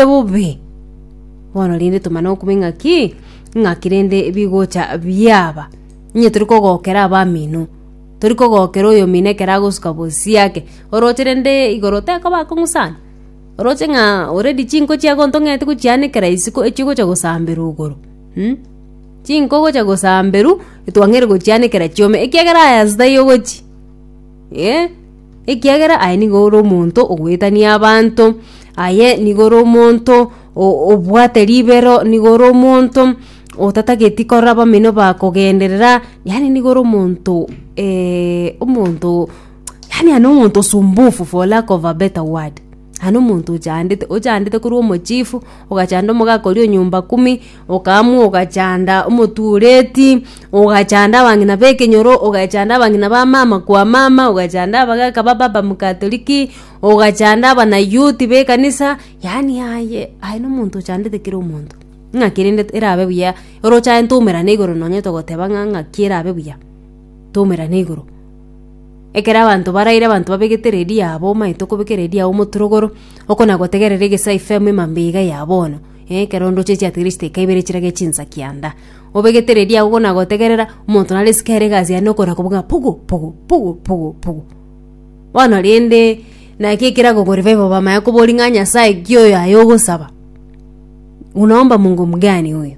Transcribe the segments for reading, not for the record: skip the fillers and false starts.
Bobe. Bono rende tomane okumanya ng'aki, ng'aki rende bigocha biaba. Onye tori kogokera abamino, tori kogokera oyomino ekero agosuka bosiake, oroche rende igoro tekoba akong'u sana? Oroche ng'a already chinko chiago ntong'ete gochianekera isiko echigocha gosamberwa igoro mh, chinko ogocha gosamberwa, etwang'eire gochianekera chiome ekiagera aya ase taiyo ogochi eh. Ekiagera aye nigo ore omonto ogoetania abanto, aye nigo ore omonto obwate ribero, nigo ore omonto otatageti korora abamino bakogenderera, yaani nigo ore omonto omonto yaani aye nomonto sumbufu for lack of a better word. Aye nomonto ochandete, ochandete korwa omochifu, ogachanda omogaka oria o nyumba kumi, Okaamua ogachanda omotureti, ogachanda abang'ina b'ekenyoro, ogachanda abang'ina ba mama kwa mama, ogachanda abagaka ba baba mokatoliki, ogachanda abanayouth b'ekanisa, yaani aye aye nomonto ochandete kera omonto. Ng'aki rende erabe buya, oroche aye ntoumerane igoro nonye togoteba ng'a ng'aki erabe buya, toumerane igoro. Ekero abanto baraire abanto babegete eredio yabo omanyete okobeka eredio yago omoturogoro, okona gotegerera egesae FM emambia iga ya bono. Ekero ndoche chiatigire chidakika ibere chirage chinsa kianda. Obegete eredio yago kona gotegerera, omonto nare isiko ere egasi yaye nokona kobuga ng'a pugu pugu pugu pugu pugu. Bono rende, naki ekerago revival bamanya koboria ng'a Nyasaye ki oyo aye ogosaba? Unaomba Mungu mgani huyu?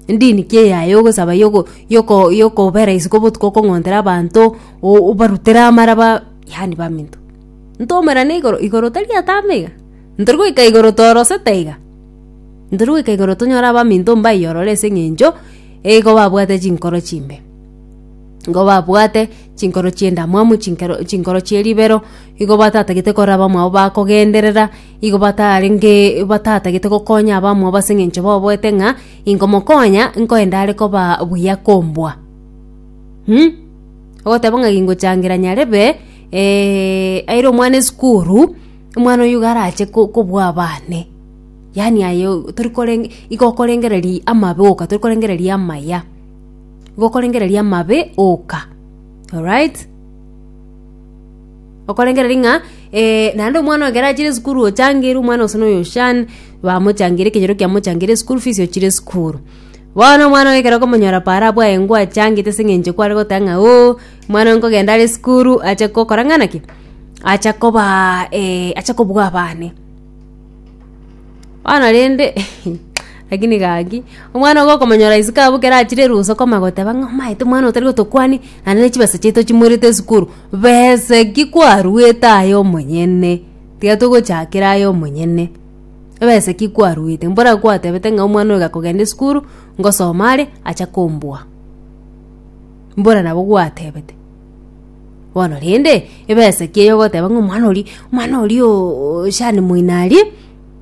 Ndini ki eye aye ogosaba yoko yoko yokobera isiko botuko okong'ontera abanto, o- obarutere amaraba, yaani baminto. Ntoumerane igoro, igoro tari atambe iga. Ntori goika igoro torosete iga, ntori goika igoro tonyore abaminto mbaiyorore ase eng'encho igo babwate chinkoro chimbe. Igo babwate chinkoro chi'endamwamu, chinkero chinkoro chie ribero, igo batatagete korora abamwabo bakogenderera, igo batarenge batatagete gokonya abamwabo ase eng'encho baoboete ng'a inkomokonya nkoenda are koba buya kombua mh. Ogoteba ng'a gingochangera nyarebe aire omwana esukuru. Omwana oyio iga arache ko- kobua abane, yaani aye tori korenge igo okorengereria amabe oka tori korengereria amaya, igo okorengereria amabe oka, alright? Okorengereria ng'a naende omwana oyo ekero achire esukuru ochangeirwe omwana gose na oyo shan, bamochangeire ekenyoro kiamochangeire eschool fees ochire esukuru. Bono omwana oyo ekero okomonyora paara abwo aye ngwachangete ase eng'encho kware goteba ng'a ooh, omwana oyo nkogenda are esukuru ache gokora ng'ana ki? Acha kobaa acha kobua abane. Bono rende lakini gaki, omwana ogo okomonyora isiko abwo ekero achire erusa okomanya goteba ng'a omanyete omwana oyo tari gotokwani, naende ne chibesa chiaito chimoirete esukuru, besa ki kwaruete aye omonyene? Tiga togochakera aye omonyene, ebesa ki kwaruete? Mbora gwatebete ng'a omwana oyo gakogenda esukuru, ngosoma are, acha kombua. Mbora nabo gwatebete. Bono rende, ebesa ki eye ogoteba ng'a omwana oria, omwana oria ooo shani moino aria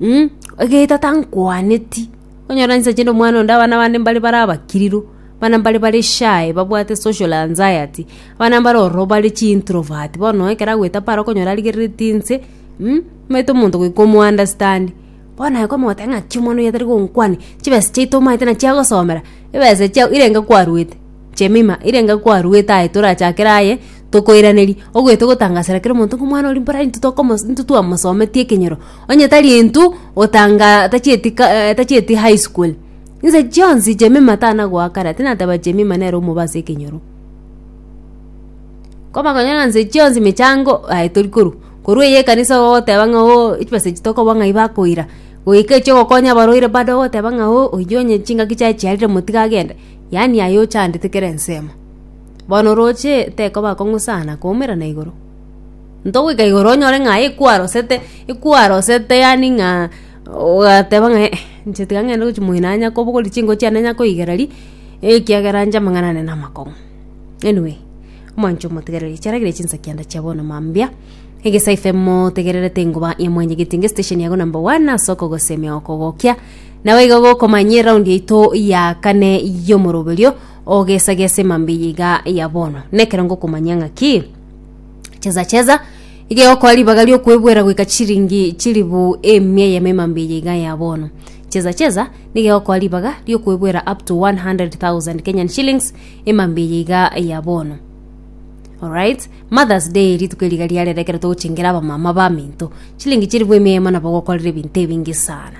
mh, egeita tankwaneti, onyore inse chinde omwana onde abana bande mbare bare abakiriru, abana mbare bare shy babwate social anxiety, abana mbare ororo bare chi introvert, bono ekero agoeta para okonyora arigereretie inse mh, omanyete omonto goika omo understand. Bono aye kwamogotebia ng'aki omwana oyo atari gonkwania, chibesa chiaito omanyete nachi agosomera, ebesa chiago irenge kwaruete. Jemima, irenga kwaruete aye torachakere aye tokoiraneria, ogoeta ogotangasera kera omonto ng'a omwana oria mbora intwe tokomo intwe twamosometie ekenyoro, onye tari intwe otanga tachieti ka tachieti high school. Inse chionsi Jemima tana goakana, tinateba Jemima nere omobe ase ekenyoro. Komakonyora nse chionsi mechango aye tori korwa, korwa eye ekanisa ogoteba ng'a ooh chibesa echi tokoba ng'ai bakoira, goika echi ogokonya abarwaire bado ogoteba ng'a ooh oywo onye chingaki chiaye chiarire motige agende. Yaani aye ochandete kera ensemo. Bono oroche tekoba akong'u sana koumerana igoro. Ntogoika igoro onyore ng'a aye kwarosete, ekwarosete yaani ng'a ogateba ng'a eh, inche tiga ng'ende gochia moino anya kobogoria chinko chiane nya koigereria, ekiagera inche amang'ana ane namakong'u. Anyway, omwancho omotegereri chiaragire chinsa kianda chia bono mambia, Egesae FM motegererete engoba ya mwanyagetinga estation yago number one ase okogosemia okogokia. Naboigo gokomanyia eraundi yaito ya kane y'omoroberio ogesagesa emambia eye iga ya bono. Nekero ngokomanyia ng'aki cheza cheza iga egokoa ribaga riokwebwera goika chiringi chilibu emia eyemo emambia eye iga ya bono. Cheza cheza nigo egokoa ribaga riokwebwera up to 100,000 Kenyan shillings emambia eye iga ya bono. Alright? Mother's Day rituko eriga riarere ekero togochengera abamama baminto. Chilingi chilifu emia eyemo nabo ogokorera ebinto ebinge sana.